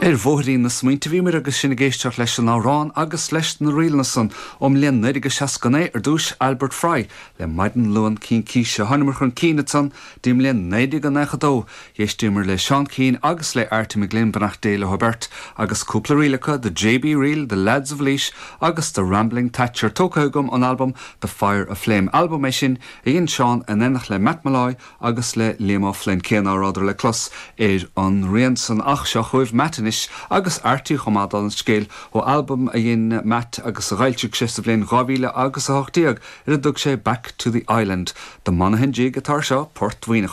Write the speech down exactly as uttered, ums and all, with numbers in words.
Ar bhóithrín na smaointe a bhíomar agus sinn ag éisteacht leis an amhrán agus leis na ríleanna san ón mbliain naoi déag seasca naoi ar dtús Albert Fry le Maidin Luain Cincíse. Thángamar chun cinn ansan dtí an mbliain naoi déag nócha dó. D'éisteamar le Seán Keane agus le Arty McGlynn beannacht Dé leo beirt agus cúpla ríl acu The JB Reel, The Lads of Laois agus The Rambling Thatcher tógtha agam ón albam The Fire Aflame. Albam é sin a dhein Seán in éineacht le Matt Molloy agus le Liam O'Flynn cé nach rabhadar le clos ar an rian san ach seo chugaibh Matt anois agus Arty chomh maith an scéal ó albam a dhein Matt agus a d'fhoilsigh sé sa bhliain dhá mhíle agus a hocht déag ar a dtug sé Back to the Island. The Monaghan Jig atá seo Port Mhuineacháin.